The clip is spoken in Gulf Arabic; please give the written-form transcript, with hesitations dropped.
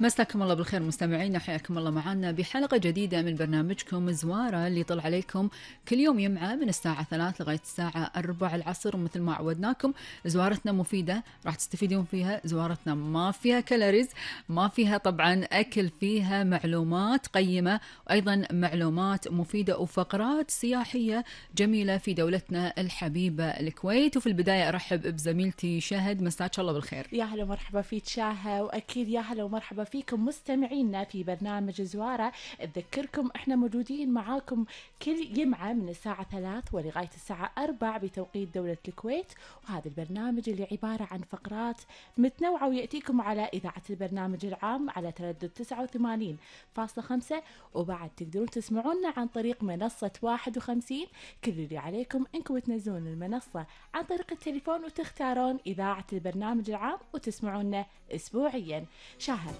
مساكم الله بالخير مستمعينا، حياكم الله معنا بحلقة جديدة من برنامجكم زوارة اللي يطلع عليكم كل يوم يمعة من الساعة 3 لغاية الساعة 4 العصر. ومثل ما عودناكم زوارتنا مفيدة، راح تستفيدون فيها. زوارتنا ما فيها كالوريز، ما فيها طبعا أكل، فيها معلومات قيمة وأيضا معلومات مفيدة وفقرات سياحية جميلة في دولتنا الحبيبة الكويت. وفي البداية أرحب بزميلتي شهد، مساك الله بالخير. يا هلا ومرحبا فيك شاهة، وأكيد يا هلا ومرحبا فيكم مستمعينا في برنامج زوارة. أذكركم إحنا موجودين معاكم كل يمعة من الساعة 3 ولغاية الساعة 4 بتوقيت دولة الكويت. وهذا البرنامج اللي عبارة عن فقرات متنوعة ويأتيكم على إذاعة البرنامج العام على تردد 89.5، وبعد تقدرون تسمعونا عن طريق منصة 51. كل اللي عليكم إنكم تنزلون المنصة عن طريق التليفون وتختارون إذاعة البرنامج العام وتسمعونا أسبوعيا. شاهد،